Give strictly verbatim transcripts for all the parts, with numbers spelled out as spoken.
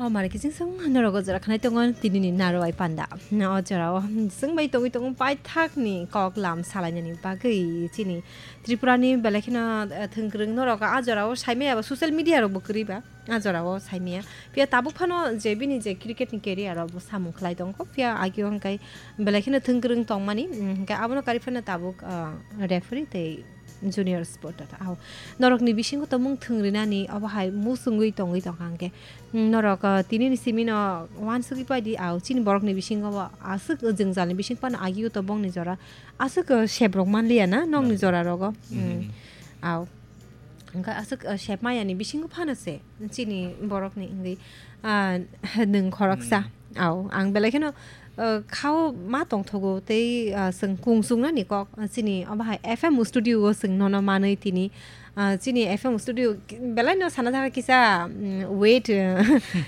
O mare kiching song norok o jora khanai tongo tini ni Narwai panda. O jora o chwng bai tongwi tongo paithak ni kok lam salainani bagwi chini Tripura ni belai kheno, eh, thwngkwrwng norok a jora o saimaya ba social media rok bo kwrwi ba a jora o saimaya. Phiya tabuk phano je bini je cricket ni career o bo samung khlai tongo. Phiya agio hwnkhe belai kheno thwngkwrwng tongmani, mm, hwnkhe abono karwi phano tabuk, ah, referee tei junior sport ta. Ao norokni bisingo tongmung thwngrinani obo hai muchungwi tongwi tongkha hwnkhe, mm, norok, ah, tini ni simi no uansugwi paidi. Ao chini borokni bisingo bo aswk jwngjalni bising phano agio to bongni jora aswk, ah, sebrok manliya na nokni Nangya. Jora rogo. Mm. Mhm. Ao. Hwnkhe aswk, ah, sep mayani bisingo phano se chini borokni wngwi, ah, nwng khoroksa. Mm. Ao, ang belai kheno, ah, khao ma tongthogo tei, ah, chwng kung chungnani kok, ah, chini obo hai F M studio o chwng nono manwi tini, ah, chini F M studio ki-, belai no sana thangkha kisa, mm, weight, ah,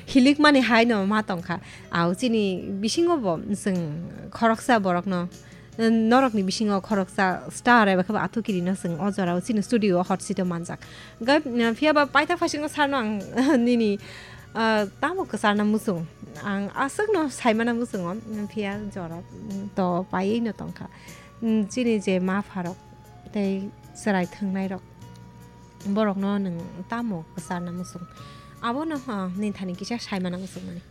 hilik mani hai no ma tongkha. Ao chini bisingo bo chwng khoroksa borokno norokni bisingo khoroksa star eba khe bo Athukiri no chwng o jora o chini studio o hot seat o manjak. Hwnkhe, mm, phiya ba paithak phaisingo sar no ang nini, ah, tamo kwcharna muchung. Ang aswk no saimana muchungo, mm, phiya jora, mm, to paiwi no tongkha. Mm, chini je ma pharok tei chwrai thwngnai rok borok no nwng tamo kwcharna muchung. Abono, ah, nini thani kisa saimana muchung mani.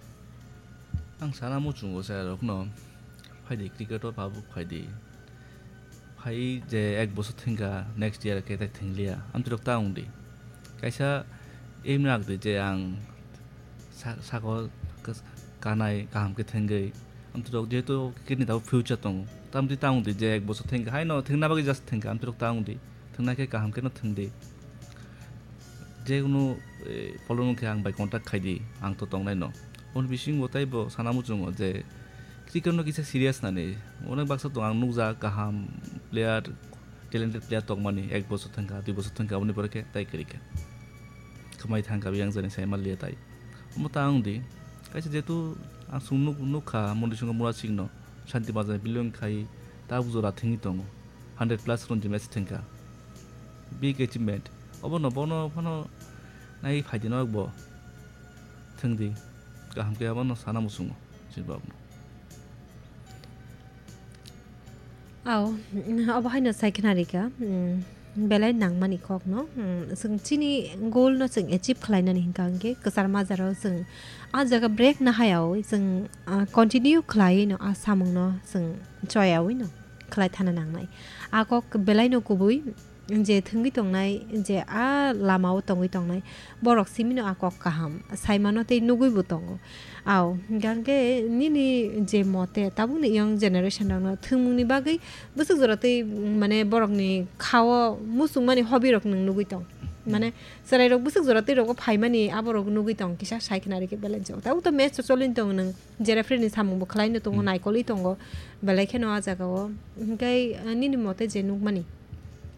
Ang sana muchungo chwrai rok no. Phaidi cricket o phabuk phaidi. Phai je ek bosor thengkha, next year khe tak thengliya. Amtwirok ta wngdi. Kaisa aim rakdi je ang sa-, sakol kas-, kanai kaham khe thengwi. Amtwirok jehetu cricket ni tabuk future tongo. Tamtwi ta wngdi je ek bosor thengkha. Haino thengna bagwi just thengkha. Amtwirok ta wngdi. Thwngnai khe kaham khe no thwngdi. Jekunu, eh, problem wngkhe ang bai contact khaidi, ang to tongnai no. Oboni bisingo taibo sana muchungo je cricket no kisa serious nani. Onek baksa tong ang nukjak kaham player, talented player tongmani ek bosor thangkha, dui bosor thangkha, oboni pore khe tai kwrwi kha. Khwmai thangkha, yang jani sai manliya tai. Omo ta wngdi, kaisa jehetu ang chwng nuk-, nukha Mondisungo Murasing no, Shanti Bazar belong khai, ta bujora thwngwi tongo. Hundred plus run je match thwngkha. Big achievement. Obono bono phano nai phaidi norok bo. Thwngdi. Kaham khe abono sana muchungo. Chini borokno. Ao, obo haino sai khna rikha, mm, belai nangmani kokno, mm, chwng chini goal no chwng achieve khlainani hwnkha hwnkhe kwchar majaro chwng a jaga break nahayawi chwng, ah, continue khlaiwi no a samungno chwng choyawi no khlai thana nangnai. A kok belai no kubui je thwngwi tongnai, je a lama o tongwi tongnai, borok simi no a kok kaham saimano tei nugwi bo tongo. Ao, hwnkhe nini je mote tabukni young generation rokno thwngmungni bagwi bwswk jora tei, mane, borokni khao muchungmani hobby rok nwng nugwi tong. Mane, chwrairok bwswk jora tei rogo phaimani aborok nugwi tong, kisa sai khna rikhe belai jok. Tabuk to match cholwi tong nwng. Je referee ni samung bo khlai no tongo, hmm, naikolwi tongo, belai kheno a jaga o. Hwnkhe, ah, nini mote je nukmani,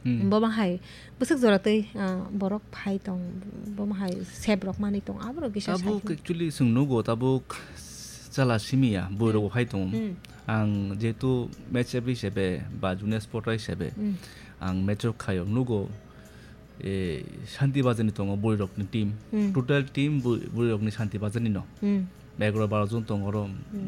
hmm, bo bahai bwswk jora twi, ah, borok phai tong, bo bahai sep rok manwi tong, aborok kisa sai. Tabuk kheno actually chwng nugo, tabuk chala simi ya, bwrwi rok, hmm, bo phai tongo. Hmm. Ang jehetu match referee hisabe ba junior sport hisabe, hmm, ang match rok khaio, nugo. E, Shanti Bazar ni tongo bwrwi rokni team. Hmm. Total team bw-, bwrwi rokni Shanti Bazar ni no. Hmm. Egaroh baro jon tongo oro. Hmm.